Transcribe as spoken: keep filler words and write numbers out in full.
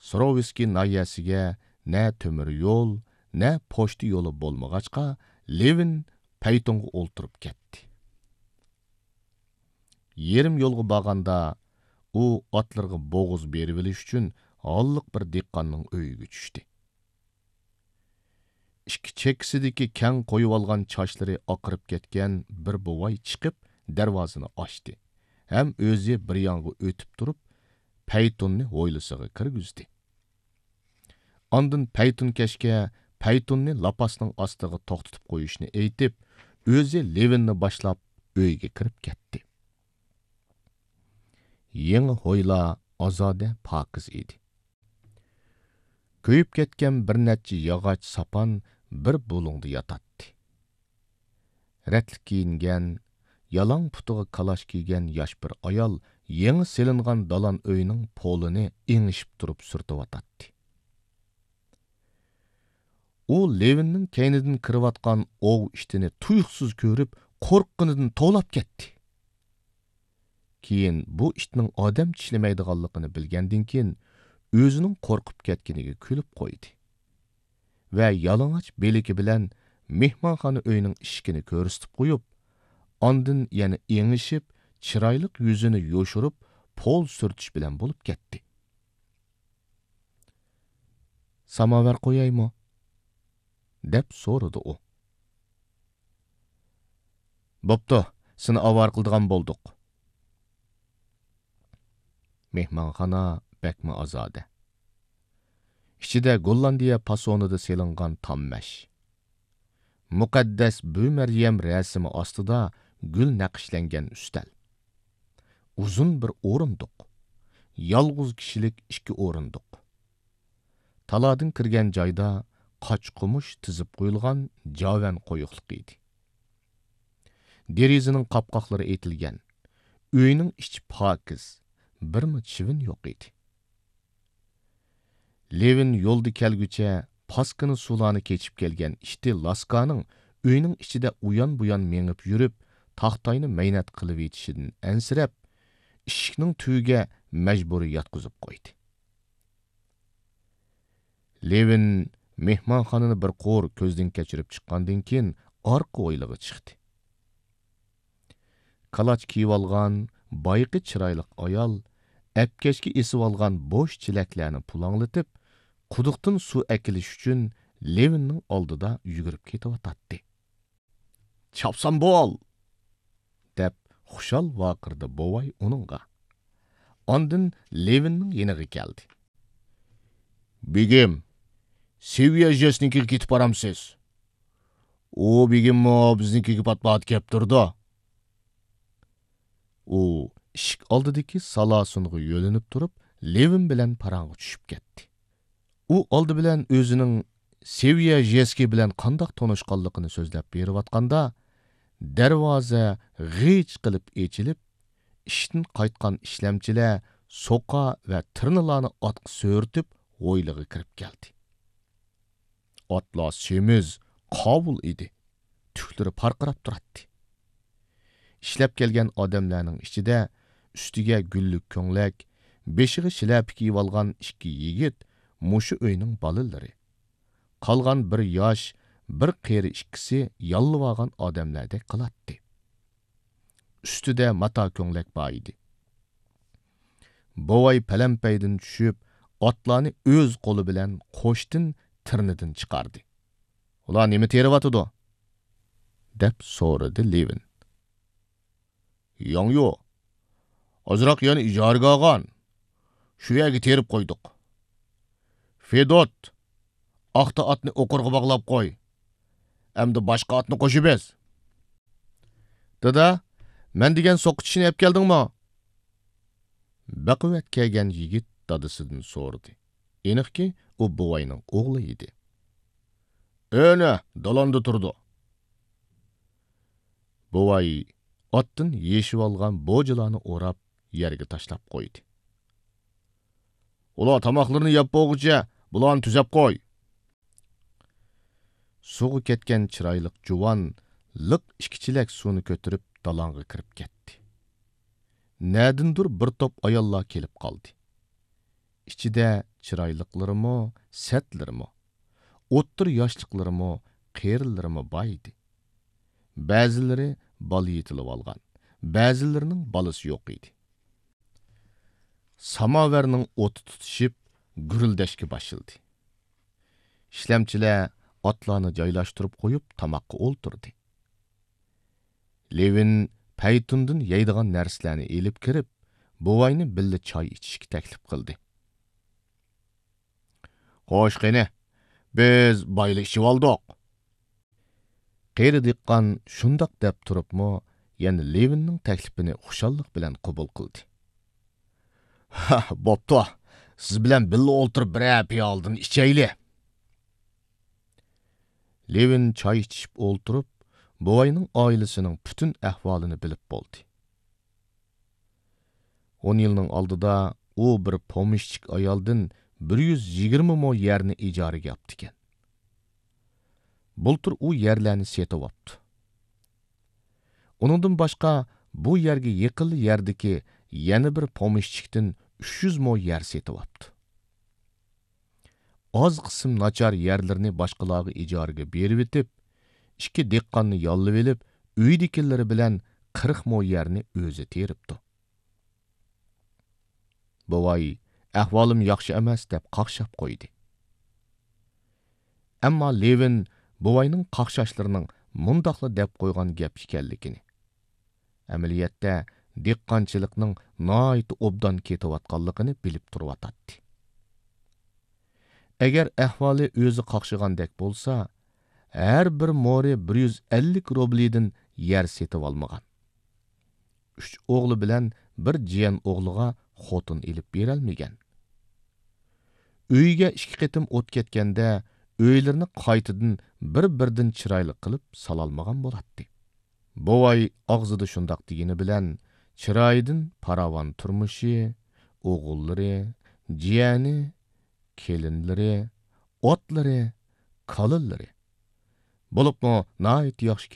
سروۋسكىي ناھىيەسىگە نە تۆمۈر يول، نە پوچتا يولى بولمىغاچقا، لېۋىن پەيتۇنغا ئولتۇرۇپ كەتتى. يېرىم يولغا بارغاندا، ئۇ ئاتلىرىغا بوغۇز بېرىۋېلىش ئۈچۈن ھاللىق بىر دېھقاننىڭ ئۆيىگە چۈشتى. ئىككى چەككىسىدىكى كەڭ قويۇۋالغان چاچلىرى ئاقىرىپ كەتكەن بىر بوۋاي چىقىپ، دەرۋازىنى ئاچتى ھەم ئۆزى بىر يانغا ئۆتۈپ تۇرۇپ، پەيتۇننى ھويلىسىغا كىرگۈزدى. ئاندىن پەيتۇنكەشكە پەيتۇننى لاپاسنىڭ ئاستىغا توختىتىپ قويۇشنى ئېيتىپ، ئۆزى لېۋىننى باشلاپ ئۆيگە كىرىپ كەتتى. يېڭى ھويلا ئازادە، پاكىز ئىدى. كۆيۈپ كەتكەن بىر نەچچە ياغاچ ساپان بىر بۇلۇڭدا ياتاتتى. رەتلىك كىيىنگەن، يالاڭ پۇتىغا كالاچ كىيگەن ياش بىر ئايال يېڭى سېلىنغان دالان ئۆينىڭ پولىنى ئېڭىشىپ تۇرۇپ سۈرتۈۋاتاتتى. ئۇ لېۋىننىڭ كەينىدىن كىرىۋاتقان ئوۋ ئىتىنى تۇيۇقسىز كۆرۈپ، قورققىنىدىن توۋلاپ كەتتى. كېيىن بۇ ئىتنىڭ ئادەم چىشلىمەيدىغانلىقىنى بىلگەندىن كېيىن، ئۆزىنىڭ قورقۇپ كەتكىنىگە كۈلۈپ قويدى ۋە يالىڭاچ بىلىكى بىلەن مېھمانخانا ئۆينىڭ ئىشىكىنى كۆرسىتىپ قويۇپ، ئاندىن يەنە ئېڭىشىپ، چىرايلىق يۈزىنى يوشۇرۇپ، پول سۈرتۈش بىلەن بولۇپ كەتتى. «ساماۋار قويايمۇ؟» دەپ سورىدى ئۇ. «بوپتۇ، سېنى ئاۋارە قىلىدىغان بولدۇق.» مېھمانخانا بەكمۇ ئازادە. ئىچىدە گوللاندىيە پاسونىدا سېلىنغان تام مەش. مۇقەددەس بۈ مەريەم رەسىمى ئاستىدا گۈل نەقىشلەنگەن ئۈستەل. ئۇزۇن بىر ئورۇندۇق. يالغۇز كىشىلىك ئىككى ئورۇندۇق. تالادىن كىرگەن جايدا قاچا-قومۇش تىزىپ قويۇلغان جاۋەن قويۇقلۇق ئىدى. دېرىزىنىڭ قاپقاقلىرى ئېتىلگەن. ئۆينىڭ ئىچى پاكىز، بىرمۇ چىۋىن يوق ئىدى. لېۋىن يولدا كەلگۈچە پاسكىنا سۇلارنى كېچىپ كەلگەن ئىتى لاسكانىڭ ئۆينىڭ ئىچىدە ئۇيان-بۇيان مېڭىپ يۈرۈپ، تاختاينى مەينەت قىلىۋېتىشىدىن ئەنسىرەپ، ئىشىكنىڭ تۈۋىگە مەجبۇرىي ياتقۇزۇپ قويدى. لېۋىن مېھمانخانىنى بىر قۇر كۆزدىن كەچۈرۈپ چىققاندىن كېيىن، ئارقا ھويلىغا چىقتى. كالاچ كىيىۋالغان بايىقى چىرايلىق ئايال ئەپكەشكە ئېسىۋالغان بوش چېلەكلەرنى پۇلاڭلىتىپ، قۇدۇقتىن سۇ ئەكېلىش ئۈچۈن لېۋىننىڭ ئالدىدا يۈگۈرۈپ كېتىۋاتاتتى. «چاپسان بول!» دەپ خۇشال ۋارقىرىدى بوۋاي ئۇنىڭغا. ئاندىن لېۋىننىڭ يېنىغا كەلدى. «بېگىم، سېۋىيە ژېسنىڭكىگە كېتىپ بارامسىز؟ ئۇ بېگىممۇ بىزنىڭكىگە پات-پات كەپ تۇرىدۇ.» ئۇ ئىشىك ئالدىدىكى سالاسۇنغا يۆلىنىپ تۇرۇپ، لېۋىن بىلەن پاراڭغا چۈشۈپ كەتتى. ئۇ ئالدى بىلەن ئۆزىنىڭ سېۋىيە ژېسكى بىلەن قانداق تونۇشقانلىقىنى سۆزلەپ بېرىۋاتقاندا، دەرۋازا غىچ قىلىپ ئېچىلىپ، ئىشتىن قايتقان ئىشلەمچىلەر سوقا ۋە تىرنىلارنى ئاتقا سۆرىتىپ، ھويلىغا كىرىپ كەلدى. ئاتلار سېمىز، قاۋۇل ئىدى. تۈكلىرى پارقىراپ تۇراتتى. ئىشلەپ كەلگەن ئادەملەرنىڭ ئىچىدە ئۈستىگە گۈللۈك كۆڭلەك، بېشىغا شىلەپە كىيىۋالغان ئىككى يىگىت مۇشۇ ئۆينىڭ بالىلىرى. قالغان بىر ياش، بىر قېرى ئىككىسى ياللىۋالغان ئادەملەردەك قىلاتتى. ئۈستىدە ماتا كۆڭلەك بار ئىدى. بوۋاي پەلەمپەيدىن چۈشۈپ، ئاتلارنى ئۆز قولى بىلەن قوشتىن تىرنىدىن چىقاردى. «ئۇلار نېمە تېرىۋاتىدۇ؟» دەپ سورىدى لېۋىن. «ياڭيۇ، ئازراق يەرنى ئىجارىگە ئالغان. شۇ يەرگە تېرىپ قويدۇق. فېدوت، ئاختا ئاتنى ئوقۇرغا باغلاپ قوي. ئەمدى باشقا ئاتنى قوشۇپ ئېز.» «دادا، مەن دېگەن سوقا چىشىنى ئەپ كەلدىڭمۇ؟» بەقۇۋۋەت كەلگەن يىگىت دادىسىدىن سورىدى. ئېنىقكى، ئۇ بوۋاينىڭ ئوغلى ئىدى. «ئەنە، دالاندا تۇرىدۇ.» بوۋاي ئاتتىن يېشىۋالغان بوجىلارنى ئوراپ، يەرگە تاشلاپ قويدى. «ئۇلار تاماقلىرىنى يەپ بولغۇچە، بۇلارنى تۈزەپ قوي.» سۇغا كەتكەن چىرايلىق جۇۋان لىق ئىككى چېلەك سۇنى كۆتۈرۈپ، دالاڭغا كىرىپ كەتتى. نەدىندۇر بىر توپ ئاياللار كېلىپ قالدى. ئىچىدە چىرايلىقلىرىمۇ، سەتلىرىمۇ، ئوتتۇرا ياشلىقلىرىمۇ، قېرىلىرىمۇ بار ئىدى. بەزىلىرى بالا يېتىلىۋالغان، بەزىلىرىنىڭ بالىسى يوق ئىدى. ساماۋەرنىڭ ئوتى تۇتىشىپ، گۈرۈلدەشكە باشلىدى. ئىشلەمچىلەر ئاتلارنى جايلاشتۇرۇپ قويۇپ، تاماققا ئولتۇردى. لېۋىن پەيتۇندىن يەيدىغان نەرسىلەرنى ئېلىپ كىرىپ، بوۋاينى بىللە چاي ئىچىشكە تەكلىپ قىلدى. خوش، قېنى، بىز بايلا ئىچىۋالدۇق. قېرى دېھقان شۇنداق دەپ تۇرۇپمۇ، يەنە لېۋىننىڭ تەكلىپىنى خۇشاللىق بىلەن قوبۇل قىلدى. ھە، بوپتۇ، سىز بىلەن بىللە ئولتۇرۇپ بىرەر پىيالىدىن ئىچەيلى. لېۋىن چاي ئىچىشىپ ئولتۇرۇپ، بوۋاينىڭ ئائىلىسىنىڭ پۈتۈن ئەھۋالىنى بىلىپ بولدى. ئون يىلنىڭ ئالدىدا ئۇ بىر پومېشچىك ئايالدىن بىر يۈز يىگىرمە مو يەرنى ئىجارىگە ئاپتىكەن. بۇلتۇر ئۇ يەرلەرنى سېتىۋاپتۇ. ئۇنىڭدىن باشقا، بۇ يەرگە يېقىنلا يەردىكى يەنە بىر پومېشچىكتىن ئۈچ يۈز مو يەر سېتىۋاپتۇ. ئاز قىسىم ناچار يەرلىرىنى باشقىلارغا ئىجارىگە بېرىۋېتىپ، ئىككى دېھقاننى ياللىۋېلىپ، ئۆيىدىكىلىرى بىلەن قىرىق مو يەرنى ئۆزى تېرىپتۇ. بوۋاي، ئەھۋالىم ياخشى ئەمەس، دەپ قاقشاپ قويدى. ئەمما لېۋىن بوۋاينىڭ قاقشاشلىرىنىڭ مۇنداقلا دەپ قويغان گەپ ئىكەنلىكىنى، ئەمەلىيەتتە دېھقانچىلىقنىڭ ناھايىتى ئوبدان كېتىۋاتقانلىقىنى بىلىپ تۇرۇۋاتاتتى. ئەگەر ئەھۋالى ئۆزى قاقشىغاندەك بولسا، ھەر بىر مورى بىر يۈز ئەللىك روبلىدىن يەر سېتىۋالمىغان. ئۈچ ئوغلى بىلەن بىر جىيەن ئوغلىغا خوتۇن ئېلىپ بېرەلمىگەن. ئۆيىگە ئىككى قېتىم ئوت كەتكەندە، ئۆيلىرىنى قايتىدىن بىر-بىردىن چىرايلىق قىلىپ سالالمىغان بولاتتى. بوۋاي ئاغزىدا شۇنداق دېگىنى بىلەن، چىرايىدىن پاراۋان تۇرمۇشى، ئوغۇللىرى، جىيەنى، كېلىنلىرى، ئاتلىرى، كالىلىرى، بولۇپمۇ ناھايىتى ياخشى